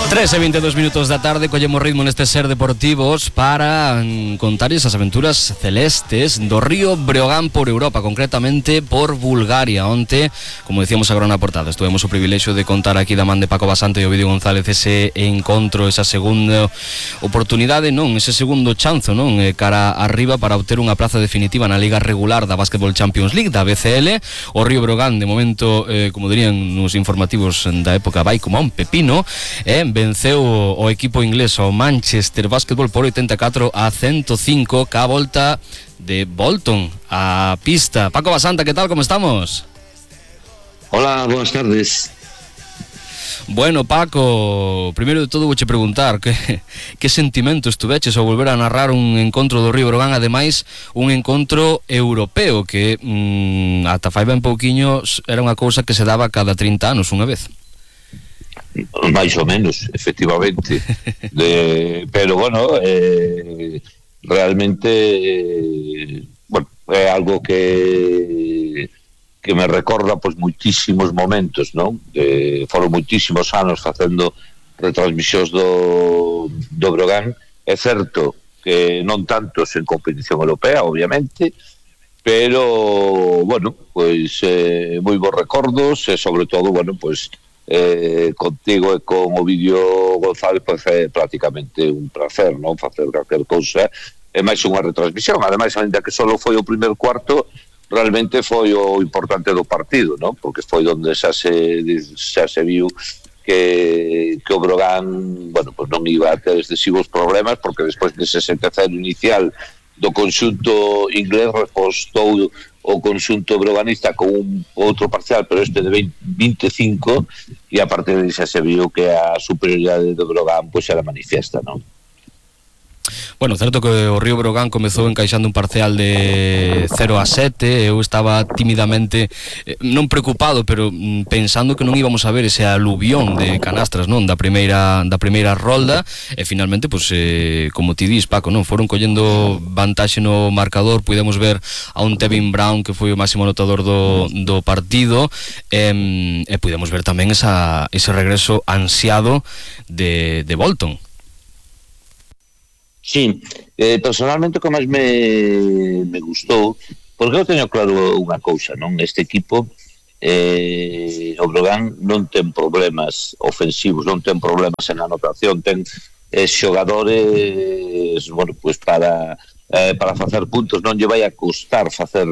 3:22 da tarde, collemos ritmo neste Ser Deportivos para contar esas aventuras celestes do Río Breogán por Europa, concretamente por Bulgaria. Onte, como decíamos agora na portada, tuvemos o privilexio de contar aquí da man de Paco Basante e Ovidio González ese encontro, esa segunda oportunidade, ese segundo chanzo, cara arriba para obter unha plaza definitiva na Liga Regular da Basketball Champions League, da BCL. O Río Breogán, de momento, como dirían nos informativos da época, vai como a un pepino, venceu o equipo inglés o Manchester Basketball por 84-105 ca volta de Bolton a pista. Paco Basanta, ¿qué tal? ¿Cómo estamos? Hola, buenas tardes. Bueno, Paco, primeiro de todo vouche preguntar que sentimentos tuveches ao volver a narrar un encontro do Río Breogán, ademais un encontro europeo que ata fai ben pouquiño era unha cousa que se daba cada 30 anos unha vez. Máis ou menos, efectivamente. Pero bueno, realmente é algo que me recorda pois muitísimos momentos, non? Foron muitísimos anos facendo retransmisións do Breogán. É certo que non tantos en competición europea, obviamente, pero bueno, pois moi bons recordos e sobre todo, bueno, pois contigo e con Ovidio González pois é prácticamente un placer, non? Facer calquer cousa é máis unha retransmisión, ademais, ainda que só foi o primer cuarto, realmente foi o importante do partido, non? Porque foi onde xa se viu que o Breogán, bueno, pois non iba a ter excesivos problemas, porque despois dese 7-0 inicial do conxunto inglés repostou o conxunto breoganista con un outro parcial, pero este de 25, e a partir de xa se viu que a superioridade do Breogán pois era manifiesta, non? Bueno, certo que o Río Breogán comezou encaixando un parcial de 0-7. Eu estaba tímidamente non preocupado, pero pensando que non íbamos a ver ese aluvión de canastras, non, da primeira rolda, e finalmente, pois, como ti dis, Paco, non, foron collendo vantaxe no marcador. Pudemos ver a un Tevin Brown que foi o máximo anotador do partido, e pudemos ver tamén ese regreso ansiado de Bolton. Sí, personalmente o que máis me gustou, porque eu teño claro unha cousa, non? Este equipo, o Breogán non ten problemas ofensivos, non ten problemas en anotación, ten xogadores, bueno, pues para facer puntos, non lle vai a costar facer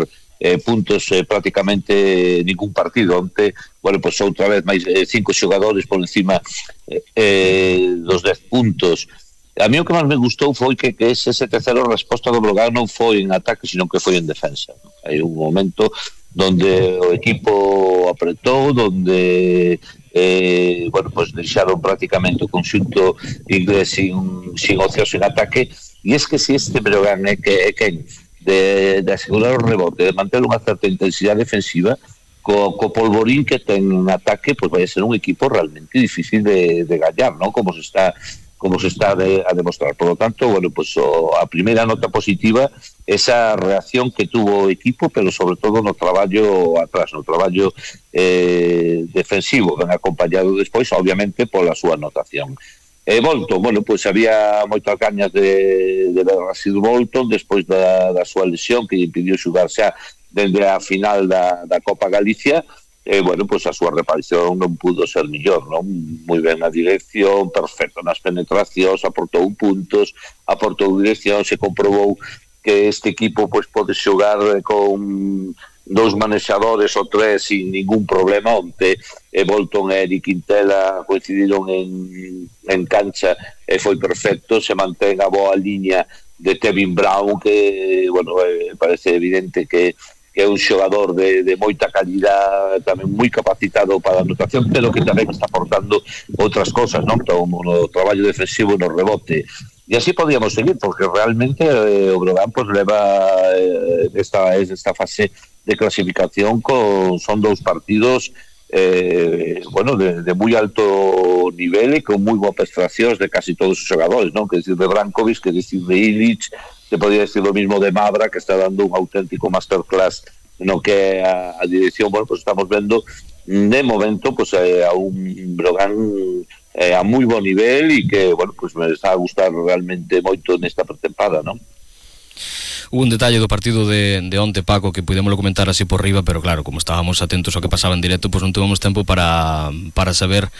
puntos prácticamente ningún partido. Onte, bueno, pues outra vez máis 5 xogadores por encima dos 10 puntos. A mí o que máis me gustou foi que ese 7-0 resposta do Breogán non foi en ataque, sino que foi en defensa. Hai un momento donde o equipo apretou, donde bueno, pues deixaron prácticamente o conxunto inglés sin ocios en ataque, e es que si este Breogán é quen de asegurar o rebote, de manter unha certa intensidade defensiva, co polvorín que ten en ataque, pues vai a ser un equipo realmente difícil de gañar, ¿no? Como se está a demostrar. Por lo tanto, bueno, pues a primeira nota positiva, esa reacción que tuvo o equipo, pero sobre todo no traballo atrás, no traballo defensivo, ben acompañado despois, obviamente, pola súa anotación. Bolton, bueno, pues había moitas gañas de ver a Sid Bolton despois da súa lesión que lle impidiu xugar xa dende a final da Copa Galicia. Bueno, pues a súa reparición non pudo ser mellor, non? Moi ben na dirección, perfecto nas penetracións, aportou puntos, aportou dirección, se comprobou que este equipo pues pode xogar con 2 manexadores ou 3 sin ningún problema. Onte Bolton e Eric Quintela coincidiron en cancha e foi perfecto. Se mantén a boa liña de Tevin Brown, que, bueno, parece evidente que é un xogador de moita calidad, tamén moi capacitado para a anotación, pero que tamén está aportando outras cosas, non? No traballo defensivo, no rebote. E así podíamos seguir, porque realmente o Breogán pues leva esta fase de clasificación son 2 partidos bueno, de moi alto nivel e con moi boas prestacións de casi todos os xogadores, non? Que decir de Brankovic, que decir de Ilic, se podría decir lo mismo de Mavra, que está dando un auténtico masterclass no que a dirección. Bueno, pues estamos vendo de momento pues a un Breogán a moi bo nivel e que, bueno, pues me está a gustar realmente moito nesta pretempada, non? Hubo un detalle do partido de onte, Paco, que pudémoslo comentar así por riba, pero claro, como estábamos atentos ao que pasaba en directo, pois non tuvemos tempo para saber,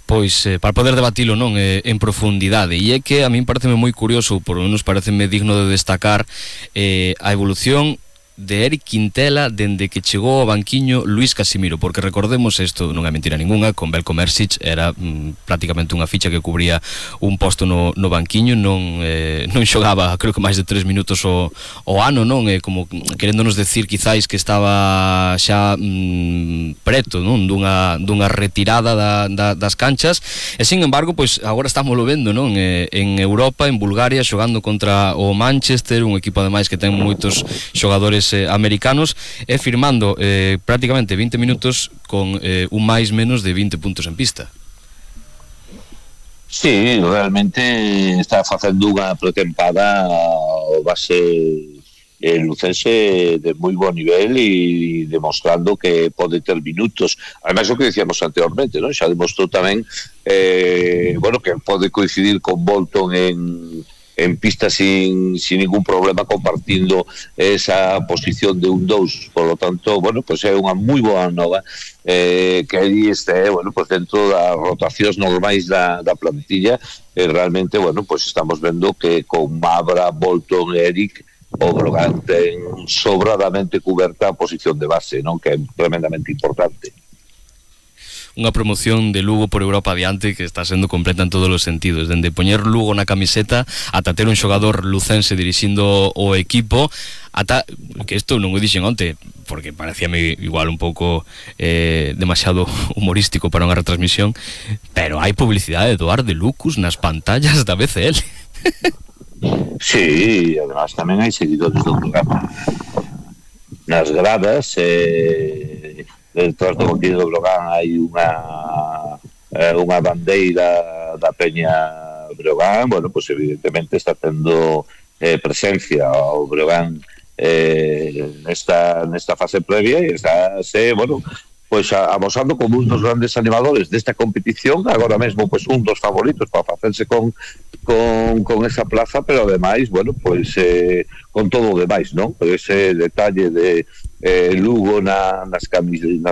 pois, para poder debatilo, non, en profundidade. E é que a min pareceme moi curioso, por lo menos pareceme digno de destacar a evolución de Eric Quintela dende que chegou ao banquiño Luis Casimiro, porque recordemos, isto non é mentira ninguna, con Belko Mersic era prácticamente unha ficha que cubría un posto no banquiño, non xogaba, creo que máis de 3 minutos o ano, non? Como queréndonos decir quizáis que estaba xa preto, non? Dunha retirada das canchas, e sin embargo, pois agora estámoslo vendo, non? En Europa, en Bulgaria, xogando contra o Manchester, un equipo ademais que ten moitos xogadores americanos, e firmando prácticamente 20 minutos con un máis menos de 20 puntos en pista. Sí, realmente está facendo unha pretempada o base lucense de moi bo nivel e demostrando que pode ter minutos. Ademais, o que decíamos anteriormente, ¿no? Xa demostrou tamén bueno, que pode coincidir con Bolton en pista sin ningún problema, compartindo esa posición de un 2. Por lo tanto, bueno, pues é unha moi boa nova que aí este, bueno, pues dentro das rotacións normais da plantilla, realmente, bueno, pues estamos vendo que con Mabra, Bolton e Eric, o Brogan ten sobradamente cuberta a posición de base, non? Que é tremendamente importante. Unha promoción de Lugo por Europa adiante que está sendo completa en todos os sentidos, dende poñer Lugo na camiseta ata ter un xogador lucense dirixindo o equipo, ata que isto non o dixen onte porque parecíame igual un pouco demasiado humorístico para unha retransmisión, pero hai publicidade do Ar de Lucus nas pantallas da BCL. Sí, además tamén hai seguidores do programa nas gradas, detrás do contido do Brogan hai unha bandeira da Peña Brogan. Bueno, pues evidentemente está tendo presencia o Brogan nesta fase previa e está, bueno, pues amosando como un dos grandes animadores desta competición, agora mesmo pues un dos favoritos para facerse con esa plaza, pero ademais, bueno, pues con todo o demais, non? Ese detalle de Lugo nas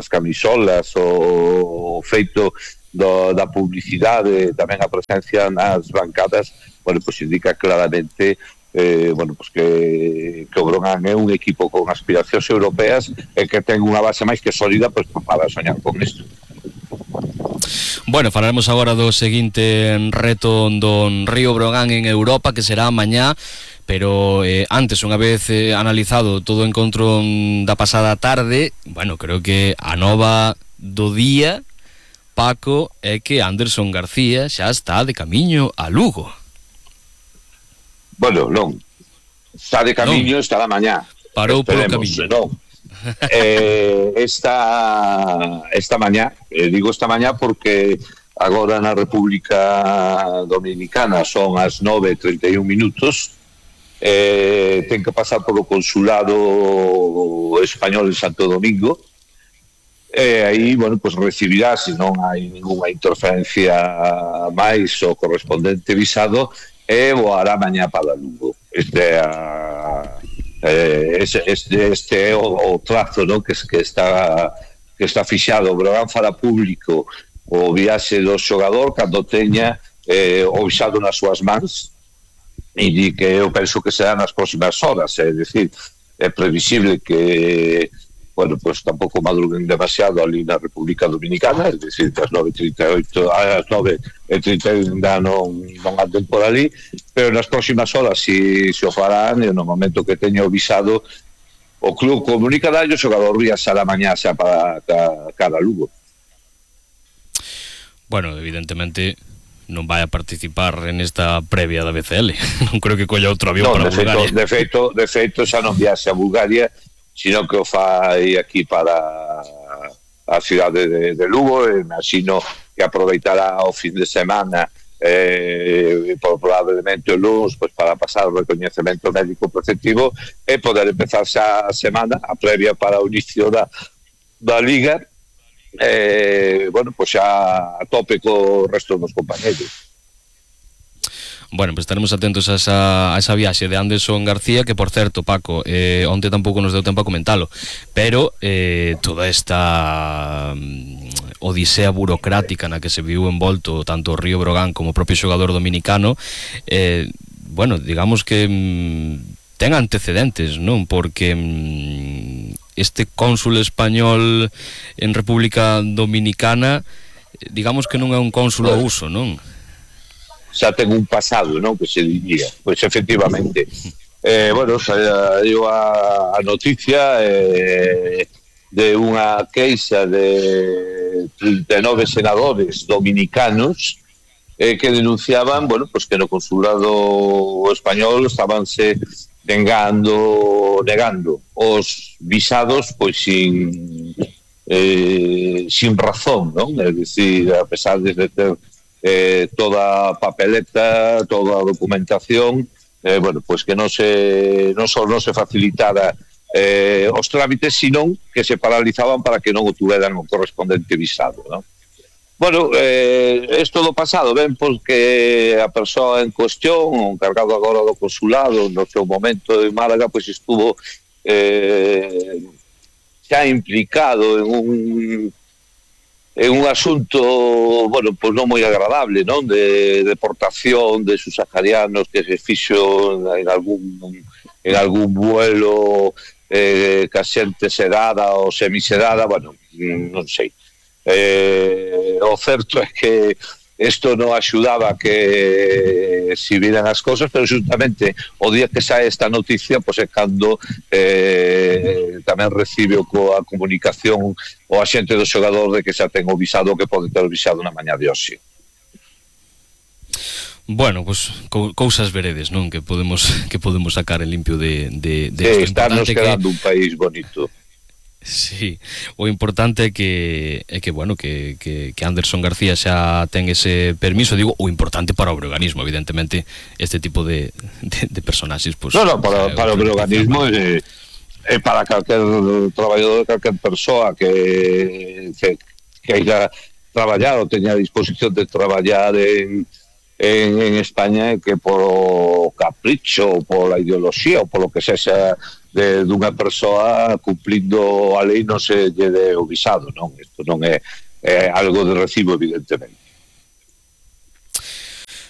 camisolas, o feito da publicidade, tamén a presencia nas bancadas, bueno, pues indica claramente bueno, pues que o Brogan é un equipo con aspiracións europeas e que ten unha base máis que sólida, pues para soñar con isto. Bueno, falaremos agora do seguinte reto don Río Brogan en Europa, que será mañá, pero antes, unha vez analizado todo o encontro da pasada tarde, bueno, creo que a nova do día, Paco, é que Anderson García xa está de camiño a Lugo. Bueno, non, está de camiño, non. Estará mañá. Parou polo camiño. Non. Esta mañá, digo esta mañá porque agora na República Dominicana son as 9:31 minutos. Ten que pasar polo consulado español en Santo Domingo, aí, bueno, pues recibirá, se non hai ninguna interferencia máis, o correspondente visado, e voará mañá para Lugo. Este é o trazo, ¿no? que está fixado. O Brogan fará público o viaxe do xogador cando teña o visado nas súas mans, e que eu penso que será nas próximas horas, é dicir, é previsible que, bueno, pues tampouco madruguen demasiado ali na República Dominicana, é dicir, que as 9:38, as 9:31 ainda non anden por ali, pero nas próximas horas si o farán, e no momento que teña o visado, o club comunicará e o xogador viaxará mañá xa para cara a Lugo. Bueno, evidentemente non vai a participar en esta previa da BCL. Non creo que colla outro avión para Bulgaria. De feito xa non viaxe a Bulgaria, sino que o fai aquí para a cidade de Lugo, e imagino que aproveitará o fin de semana probablemente o lunes, pues, para pasar o recoñecemento médico preceptivo e poder empezar xa a semana, a previa para o inicio da Liga, bueno, pues xa a tope co resto dos compañeros. Bueno, pues estaremos atentos a esa viaxe de Anderson García, que por certo, Paco, onte tampouco nos deu tempo a comentalo, pero toda esta odisea burocrática na que se viu envolto tanto o Río Brogan como o propio xogador dominicano, bueno, digamos que ten antecedentes, non? Porque este cónsul español en República Dominicana, digamos que non é un cónsul ao uso, non? Xa ten un pasado, non? Que se diría. Pois efectivamente. Bueno, saiu a noticia de unha queixa de 39 senadores dominicanos que denunciaban, bueno, pues que no consulado español estabanse negando os visados pois sin razón, non? É dicir, a pesar de ter toda a papeleta, toda a documentación, bueno, pues que non só non se facilitara os trámites, sino que se paralizaban para que non o tuveran o correspondente visado, non? Bueno, isto do pasado ven porque a persoa en cuestión, o encargado agora do consulado, no seu momento en Málaga, pois estuvo xa implicado en un asunto, bueno, pues non moi agradable, non? De deportación de subsaharianos que se fixo en algún vuelo ca xente sedada ou semisedada, bueno, non sei. O certo é que isto non axudaba que se viran as cosas, pero justamente o día que sae esta noticia, pois é cando tamén recibe a comunicación o axente do xogador de que xa ten o visado, que pode ter o visado na mañá de hoxe. Bueno, pues cousas veredes, non? Que podemos sacar en limpio de sí, estarnos quedando un país bonito. Sí, o importante é que bueno, que Anderson García xa ten ese permiso, digo, o importante para o breoganismo, evidentemente, este tipo de personaxes, pues, no, para o breoganismo é para calquer traballador, calquer persoa que queira traballar ou teña a disposición de traballar en España, que por capricho, ou pola ideoloxía ou polo que sexa dunha persoa cumplindo a lei non se lle dé o visado, non? Isto non é algo de recibo, evidentemente.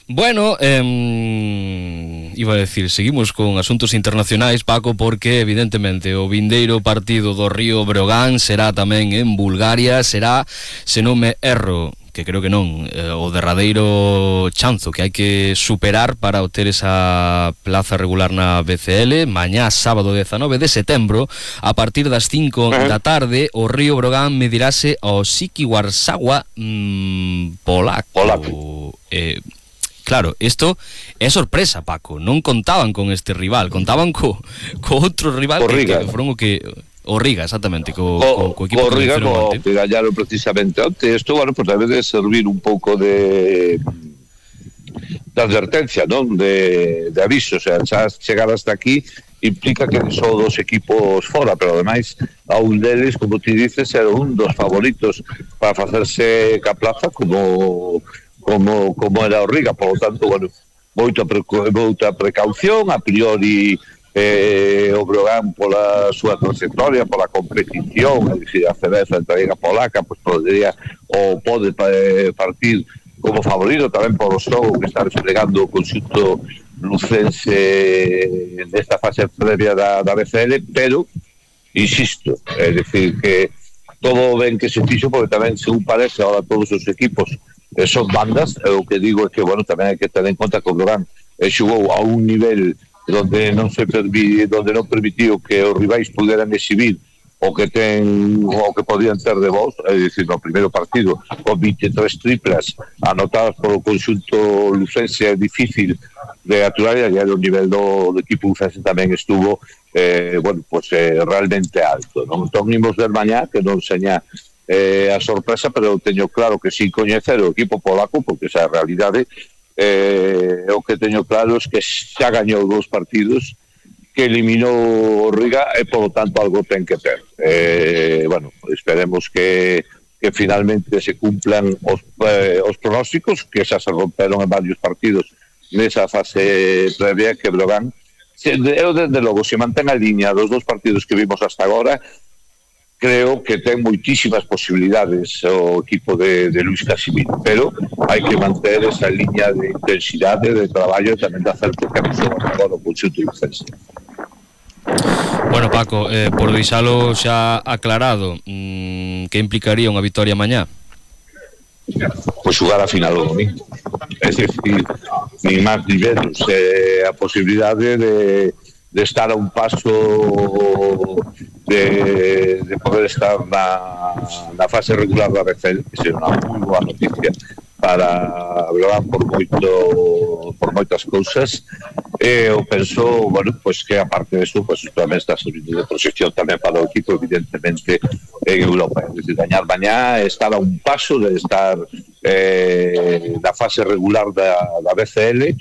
Bueno, iba a decir, seguimos con asuntos internacionais, Paco, porque evidentemente o vindeiro partido do Río Breogán será tamén en Bulgaria, será, se non me erro, que creo que non, o derradeiro chanzo que hai que superar para obter esa plaza regular na BCL. Mañá, sábado 19 de setembro, a partir das 5 da tarde, o Río Brogan medirase ao Siki Warsawa polaco. Claro, isto é sorpresa, Paco. Non contaban con este rival, contaban co outro rival que foron o Riga, exactamente, co equipo que Riga, que gañaron precisamente onte. Isto, bueno, pues debe de servir un pouco de advertencia, non? De aviso, o sea, xa chegar hasta aquí implica que son dos equipos fora, pero ademais a un deles, como ti dices, era un dos favoritos para facerse ca plaza como era o Riga. Por lo tanto, bueno, moita precaución, a priori o Brogan pola súa trayectoria, pola competición, é dicir, a cerveza entre a Liga Polaca, pues pode partir como favorito tamén por o xogo que está desplegando o conxunto lucense nesta fase previa da BCL, pero insisto, é dicir que todo ben que se fixo, porque tamén, según parece, ahora todos os equipos son bandas. O que digo é que, bueno, tamén hai que ter en conta que o Brogan xugou a un nivel donde non permitiu que os rivais puderan exhibir o que podían ter de voz, é dicir, no primeiro partido con 23 triplas anotadas polo conxunto lucense. É difícil de aturar, e o nivel do equipo lucense tamén estuvo bueno, pues realmente alto, non? Entón imos ver mañá, que non seña a sorpresa, pero teño claro que sin coñecer o equipo polaco, porque esa é a realidade, o que teño claro é que xa gañou 2 partidos, que eliminou o Riga, e polo tanto algo ten que ter. Bueno, esperemos que que finalmente se cumplan os pronósticos que xa se romperon en varios partidos nesa fase previa, que Breogán eu desde logo se mantén a liña dos 2 partidos que vimos hasta agora. Creo que ten moitísimas posibilidades o equipo de Luis Casimiro, pero hai que manter esa liña de intensidade, de traballo e tamén de acerto que nos agora o conxunto lucense. Bueno, Paco, por deixalo xa aclarado, que implicaría unha vitoria mañá? Pois xugar a final do domingo. É dicir, ni máis ni menos, a posibilidade de estar a un paso de poder estar na fase regular da BCL, que será unha moi boa noticia para Breogán por moitas cousas. Eu penso, bueno, pues que aparte de eso, pues tamén está servindo de proxección tamén para o equipo, evidentemente, en Europa. Es decir, gañar mañá, estar a un paso de estar na fase regular da BCL.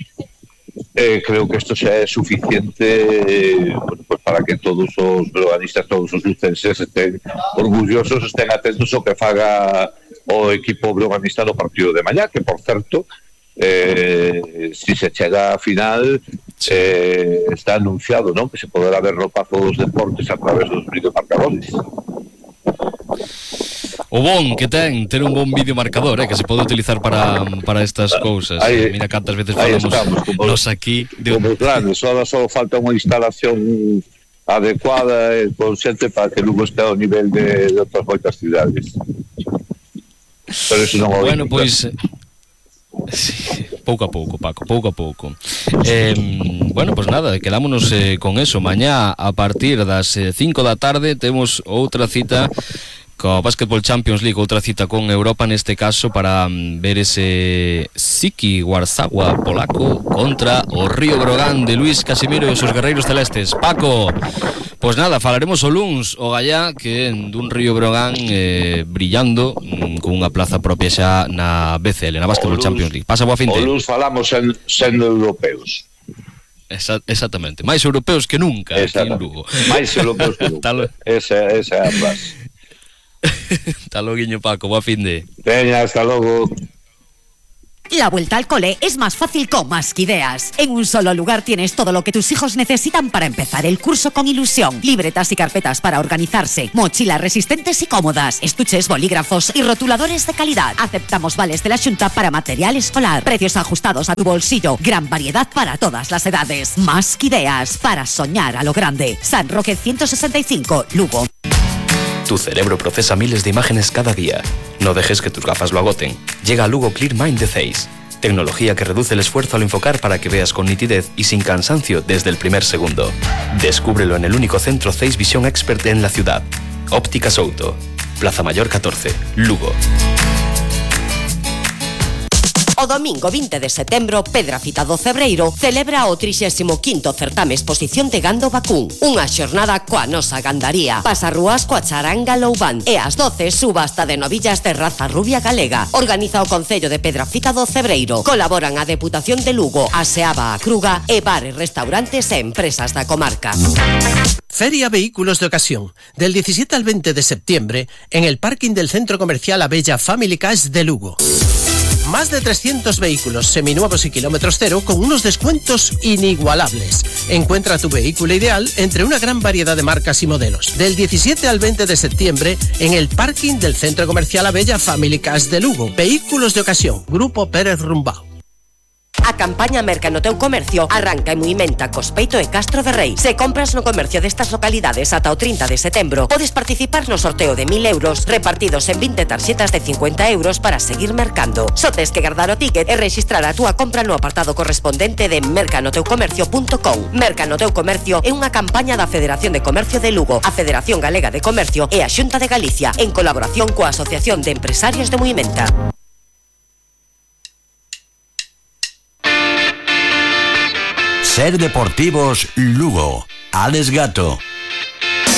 Creo que isto xa é suficiente, bueno, pues para que todos os breoganistas, todos os lucenses estén orgullosos, estén atentos ao que faga o equipo breoganista no partido de mañá, que por certo, si se chega a final, está anunciado, ¿no?, que se poderá ver no Pazo dos Deportes a través dos videomarcadores. O bon que ten ter un bon videomarcador, que se pode utilizar para estas cousas. Mira cantas veces falamos nos aquí como grandes, só falta unha instalación adecuada e consciente para que Lugo este ao nivel de outras moitas cidades. Pero eso non o bueno, pois sí, pouco a pouco, Paco, pouco a pouco. Bueno, pois nada, quedámonos con eso. Mañá a partir das 5 da tarde temos outra cita co Basketball Champions League, outra cita con Europa neste caso para ver ese Siki Warsawa polaco contra o Río Breogán de Luis Casimiro e os seus guerreiros celestes. Paco, pois nada, falaremos o luns o gallá que dun Río Breogán brillando con unha plaza propia xa na BCL, na Basketball Champions League. Pasa boa finte. O luns falamos sendo europeos. Exactamente, máis europeos que nunca aquí en Lugo. Máis europeos que nunca. Esa é a frase. Hasta luego, Paco, boa finde. Veña, hasta logo. La vuelta al cole es más fácil con Masquideas. En un solo lugar tienes todo lo que tus hijos necesitan para empezar el curso con ilusión. Libretas y carpetas para organizarse, mochilas resistentes y cómodas, estuches, bolígrafos y rotuladores de calidad. Aceptamos vales de la Xunta para material escolar. Precios ajustados a tu bolsillo. Gran variedad para todas las edades. Masquideas, para soñar a lo grande. San Roque 165, Lugo. Tu cerebro procesa miles de imágenes cada día. No dejes que tus gafas lo agoten. Llega Lugo Clear Mind de Zeiss. Tecnología que reduce el esfuerzo al enfocar para que veas con nitidez y sin cansancio desde el primer segundo. Descúbrelo en el único centro Zeiss Vision Expert en la ciudad. Óptica Souto. Plaza Mayor 14, Lugo. O domingo 20 de setembro, Pedrafita do Cebreiro celebra o 35º certame exposición de gando vacún. Unha xornada coa nosa gandaría. Pasarrúas coa charanga Loubán e ás 12 subasta de novillas de raza rubia galega. Organiza o Concello de Pedrafita do Cebreiro. Colaboran a Deputación de Lugo, a Seaba a Cruga e bares, restaurantes e empresas da comarca. Feria Vehículos de Ocasión, del 17 al 20 de septiembre, en el parking del Centro Comercial Abella Family Cars de Lugo. Más de 300 vehículos seminuevos y kilómetros cero con unos descuentos inigualables. Encuentra tu vehículo ideal entre una gran variedad de marcas y modelos. Del 17 al 20 de septiembre en el parking del Centro Comercial Abella Family Cars de Lugo. Vehículos de Ocasión, Grupo Pérez Rumbao. A campaña Merca no teu comercio arranca e movimenta Cospeito e Castro de Rei. Se compras no comercio destas localidades ata o 30 de setembro, podes participar no sorteo de 1.000 euros repartidos en 20 tarxetas de 50 euros para seguir mercando. Só tes que guardar o ticket e registrar a túa compra no apartado correspondente de mercanoteucomercio.com. Merca no teu comercio é unha campaña da Federación de Comercio de Lugo, a Federación Galega de Comercio e a Xunta de Galicia, en colaboración coa Asociación de Empresarios de Movimenta. Ser Deportivos Lugo. Alex Gato.